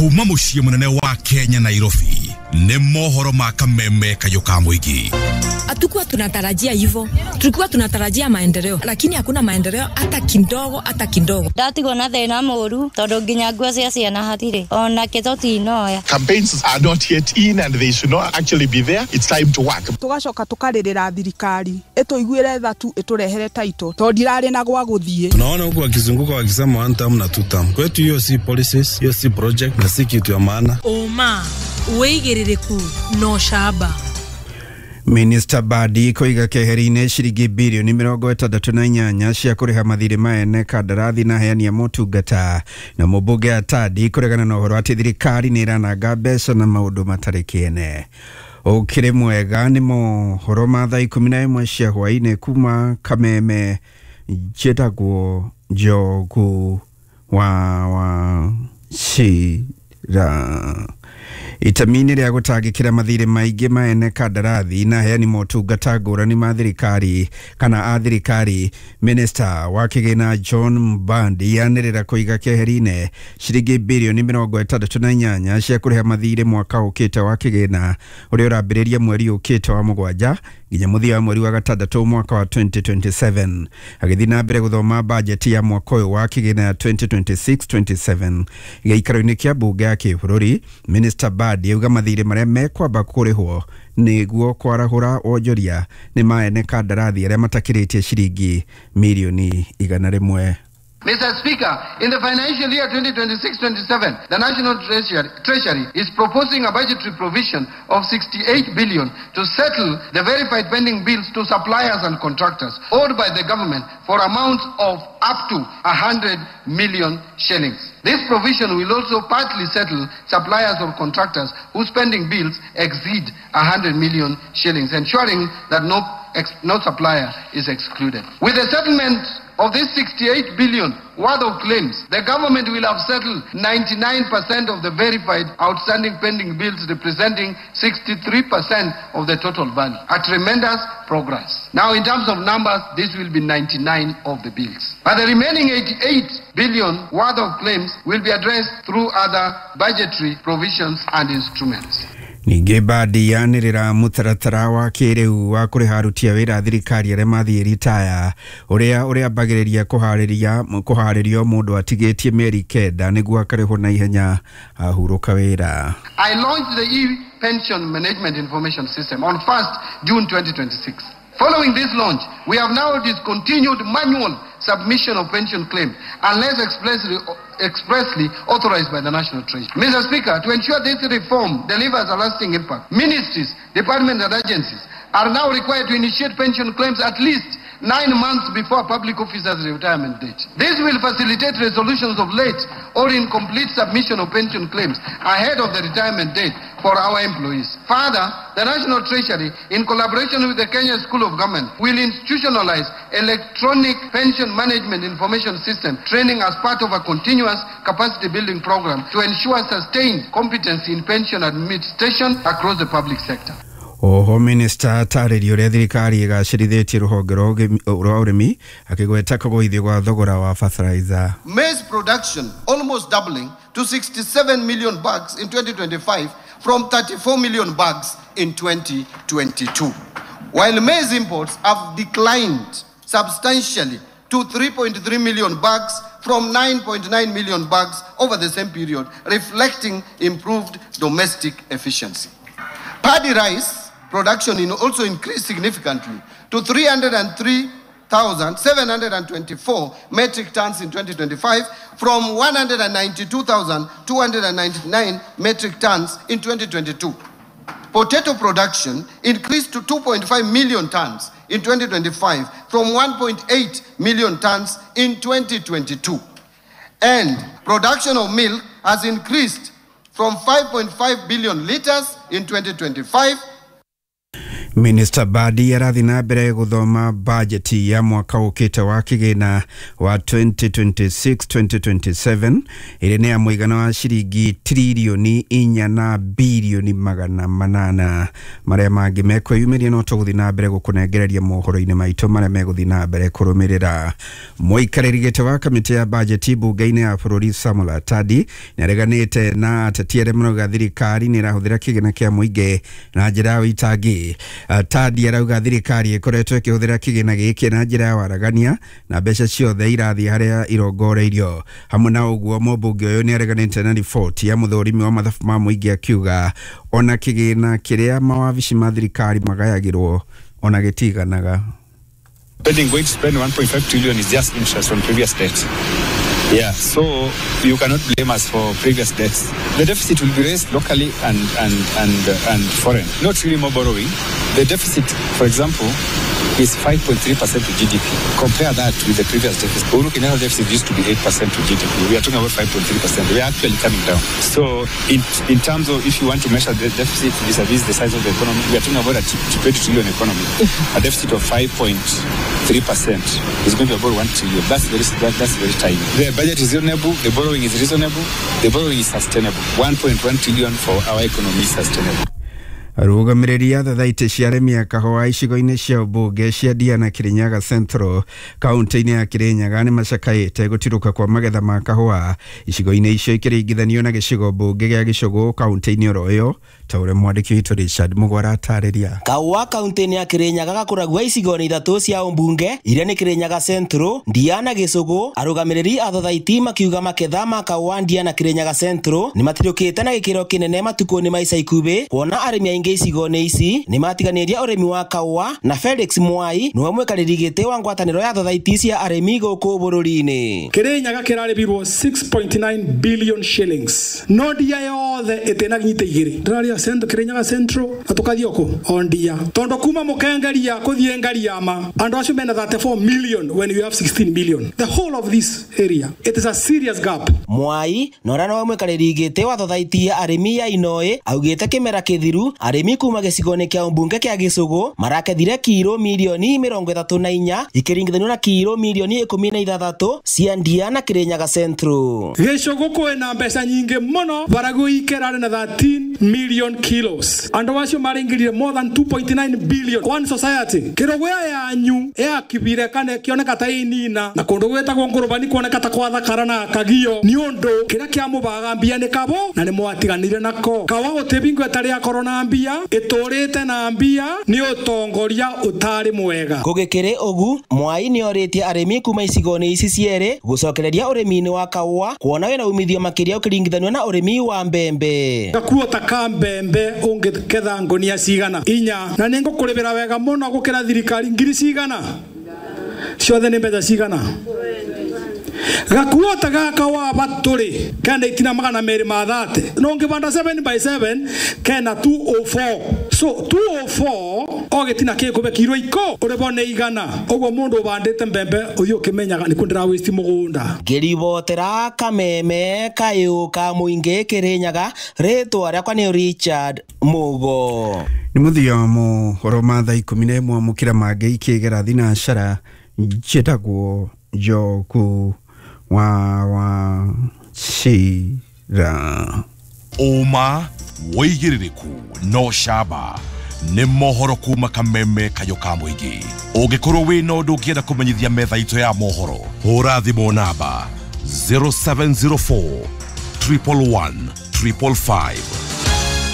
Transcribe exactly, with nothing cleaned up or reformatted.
Kuma mũciĩ mũnene wa Kenya Nairobi nĩ mohoro ma kameme kayũ ka mũingĩ. Hatukuwa tunatarajia hivyo, tulikuwa tunatarajia maendeleo, lakini hakuna maendeleo hata kidogo, hata kidogo. Ndatigwo na thĩna mũru tondũ nginya nguo cia ciana hatirĩ ona kĩ tũtinoya. Campaigns are not yet in and they should not actually be there. It's time to work. Tugacoka tukarĩrĩra thirikari ĩtũiguĩre tha tu ĩtũrehere title tondũ ndirarĩ na gwa gũthiĩ. Tunaona huku wakizunguka wakisema one term na two term. Kwetu hiyo si policies, hiyo si project na si kitu ya maana. Ũma wĩigĩrĩrĩku no camba. Minister Badi koiga keheri-inĩ ciringi birioni mĩrongo ĩtandatũ na inyanya cia kũrĩha mathirĩ ma ene kandarathi na aheani a motungata na mũmbunge Atadi kũregana na ũhoro atĩ thirikari nĩ ĩrananga mbeca na maũndũ matarĩ kĩene. Ũkĩrĩ mwega nĩ mohoro ma thaa ikũmi na ĩmwe cia hwaĩ-inĩ kuma Kameme. Njĩtagwo Njogu wa wa Cira. Itemi-inĩ rĩa gũtangĩkĩra mathirĩ maingĩ ma ene kandarathi na aheani motungata ngũrani ma thirikari kana a thirikari, Minister wa kĩgĩna John Mbadi anĩrĩra kũiga keheri-inĩ ciringi birioni mĩrongo ĩtandatũ na inyanya cia kũrĩha mathirĩ mwaka ũkĩte wa kĩgĩna ũrĩa ũrambĩrĩria mweri ũkĩte wa mũgwanja nginya mũthia wa mweri wa gatandatũ mwaka wa twenty twenty-seven. Agĩthiĩ na mbere gũthoma bajeti ya mwaka ũyũ wa kĩgĩna ya twenty twenty-six twenty-seven gĩikaro-inĩ kĩa mbunge ya kĩbũrũri, Minister Mbadi auga mathirĩ marĩa mekwamba kũrĩhwo nĩguo kwarahũra wonjoria nĩ ma ene kandarathi arĩa matakĩrĩtie ciringi mirioni igana rĩmwe. Mister Speaker, in the financial year twenty twenty-six twenty-seven, the National Treasury, Treasury is proposing a budgetary provision of sixty-eight billion to settle the verified pending bills to suppliers and contractors owed by the government for amounts of up to one hundred million shillings. This provision will also partly settle suppliers or contractors whose pending bills exceed one hundred million shillings, ensuring that no, ex no supplier is excluded. With the settlement of this sixty-eight billion worth of claims, the government will have settled ninety-nine percent of the verified outstanding pending bills, representing sixty-three percent of the total value. A tremendous progress. Now, in terms of numbers, this will be ninety-nine of the bills. But the remaining eighty-eight billion worth of claims will be addressed through other budgetary provisions and instruments. Ningĩ Mbadi yanĩrĩra mũtaratara wa kĩrĩu wa kũrĩha aruti a wĩra a thirikari arĩa mathiĩ ritaya ũrĩa ũrĩambagĩrĩria kũharĩria kũharĩrio mũndũ atigĩtie mĩeri kenda nĩguo akarĩhwo na ihenya ahurũka wĩra. I launched the e-pension management information system on first June twenty twenty-six. Following this launch, we have now discontinued manual submission of pension claims unless expressly, expressly authorized by the National Treasury. Mister Speaker, to ensure this reform delivers a lasting impact, ministries, departments and agencies are now required to initiate pension claims at least nine months before a public officer's retirement date. This will facilitate resolutions of late or incomplete submission of pension claims ahead of the retirement date for our employees. Further, the National Treasury, in collaboration with the Kenya School of Government, will institutionalize electronic pension management information system training as part of a continuous capacity building program to ensure sustained competency in pension administration across the public sector. Oho Minister atarĩria ũrĩa thirikari ĩgacĩrithĩtie rũhonge rwa ũrĩmi akĩgweta kũgũithio gwa thogora wa fertilizer. Maize production almost doubling to sixty-seven million bags in twenty twenty-five from thirty-four million bags in twenty twenty-two. While maize imports have declined substantially to three point three million bags from nine point nine million bags over the same period, reflecting improved domestic efficiency. Paddy rice production in also increased significantly to three hundred three thousand seven hundred twenty-four metric tons in twenty twenty-five from one hundred ninety-two thousand two hundred ninety-nine metric tons in twenty twenty-two. Potato production increased to two point five million tons in twenty twenty-five from one point eight million tons in twenty twenty-two. And production of milk has increased from five point five billion liters in twenty twenty-five. Minister Mbadi arathi na mbere guthoma bajeti ya mwaka ukite wa kigina wa twenty twenty-six twenty twenty-seven iri ni ya muigana wa ciringi trilioni inya na bilioni magana manana. Maria mangi mekwiyumiria no tuguthi na mbere gukunengereria mohoro-ini maitu maria meguthi na mbere kurumirira. Muikariri giti wa kamiti ya bajeti bunge-ini ya bururi Samuel Atadi niareganite na ateti aria marauga thirikari ni irahuthira kigina kia muingi na njira ya uitangi. Atadi arauga thirikari ikoretwo ikihuthira kigina giki na njira ya waragania na mbeca ciothe irathi haria irongoreirio. Hamwe na uguo mũmbunge ũyũ nĩareganĩte na riboti ya mũthũrimi wa mathabu ma mũingĩ akiuga ona kigina kiria mawabici ma thirikari magayagirwo ona gĩtiganaga. Spending, going to spend one point five trillion is just interest on previous debt. Yeah, so you cannot blame us for previous debts. The deficit will be raised locally and and and uh, and foreign. Not really more borrowing. The deficit, for example, is five point three percent to G D P. Compare that with the previous deficit. Uhuru Kenyatta deficit used to be eight percent to G D P. We are talking about five point three percent. We are actually coming down. So in, in terms of if you want to measure the deficit vis-a-vis the size of the economy, we are talking about a twenty trillion economy. A deficit of five point three percent is going to be about one trillion. That's very, that, that's very tiny. The budget is reasonable. The borrowing is reasonable. The borrowing is sustainable. one point one trillion for our economy is sustainable. Arũgamĩrĩri a thathaitĩ cia arĩmi a kahũa icigo-inĩ cia ũmbunge cia Ndia na Kirinyaga Central kaunti-inĩ ya Kirinyaga nĩ macakaĩte gũtirũka kwa magetha ma kahũa icigo-inĩ icio ikĩringithanio na gĩcigo mbunge gĩa Gĩcũgũ kaunti-inĩ oro ĩyo, ta ũrĩa mwandĩki witũ Richard Mũgwara atarĩria. Kahũa kaunti-inĩ ya Kirinyaga gakũragwo icigo-inĩ ithatũ cia ũmbunge iria nĩ Kirinyaga Central, Ndia na Gĩcũgũ. Arũgamĩrĩri a thathaitĩ makiuga maketha ma kahũa Ndia na Kirinyaga Central nĩ matirũkĩte na gĩkĩro kĩnene matukũ-inĩ ma ica ikuhĩ, kuona arĩmi aingĩ icigo-inĩ ici nĩ matiganĩria ũrĩmi wa kahũa. Na Felix Mwai nĩwe mwikarĩri gĩtĩ wa ngwatanĩro ya thathaitĩ cia arĩmi gũkũ bũrũri-inĩ. Kirinyaga kĩrarĩbirwo six point nine billion shillings no Ndia yothe ĩtĩnaginyite igĩrĩ. Ndĩraria Central, Kirinyaga Central na tũkathiĩ kũ o Ndia, tondũ kuma mũkengeria kũthiĩ Ngariama andũ acio mena thirty-four million when you have sixteen million. The whole of this area, it is a serious gap. Mwai na ũrĩa nĩwe mwikarĩri gĩtĩ wa thathaitĩ ya arĩmi ya Inoĩ augĩte kĩmera kĩthiru arĩmi kuma gĩcigo-inĩ kĩa ũmbunge kĩa Gĩcũgũ marakethire kiro milioni mĩrongo ĩtatũ na inya ikĩringithanio na kiro milioni ikũmi na ithathatũ cia Ndia na Kirinyaga Central. Gĩcũgũ kwĩna mbeca nyingĩ mũno, Baragoi kĩrarĩ na thirteen million kilos, andũ acio maringirire more than two point nine billion. One society kĩrũgũya yanyu yakibire kana kĩoneka ta inina na kũndũ gwĩtagwo Ngũrũbani kuoneka ta kwathakara na kagio nĩ ũndũ kĩrĩa kĩamũbaga mbia nĩ kabo na nĩ mwatiganire nako. Kawa gũtĩ bingo ĩtarĩ yakorwo na mbia ĩtũrĩte na mbia nĩ ũtongoria ũtarĩ mwega. Gũgĩkĩrĩ ũgu Mwai nĩorĩtie arĩmi kuma icigo-inĩ ici cierĩ gũcokereria ũrĩmi-inĩ wa kahũa kuona wĩna umithio makĩria ũkĩringithanio na ũrĩmi wa mbembe. Gakuo ta ka mbembe ũngĩketha ngũnia cigana inya na nĩ ngũkũrĩmĩra wega mũno gũkĩra thirikari ngiri cigana ciothe nĩ mbeca cigana. Gakuo ta gaka wa batũrĩ kenda itina magana merĩ ma thate no ngĩbanda seven by seven kena two oh four, so two oh four o gĩtina kĩkũbe kiro iko ũrĩbo nĩ igana. Ũguo mũndũ ũbandĩte mbembe ũthiĩ ũkĩmenyaga nĩ kũ ndĩra waste mũgũnda. Ngĩribotera Kameme kayũ ka mũingĩ Kĩrĩnyaga, rĩtwa rĩakwa nĩ Richard Mugo. Nĩ mũthia wa mohoro ma thaa ikũmi na ĩmwe mũkĩra mangĩ ikĩgera thinacara. Njĩtagwo Njoku wa wa Cira. Ũma wĩigĩrĩrĩku no camba nĩ mohoro kuma Kameme kayũ ka mũingĩ. Ũngĩkorwo wĩna ũndũ ũngĩenda kũmenyithia metha itũ ya mohoro, hũra thimũ namba zero seven zero four triple one triple five.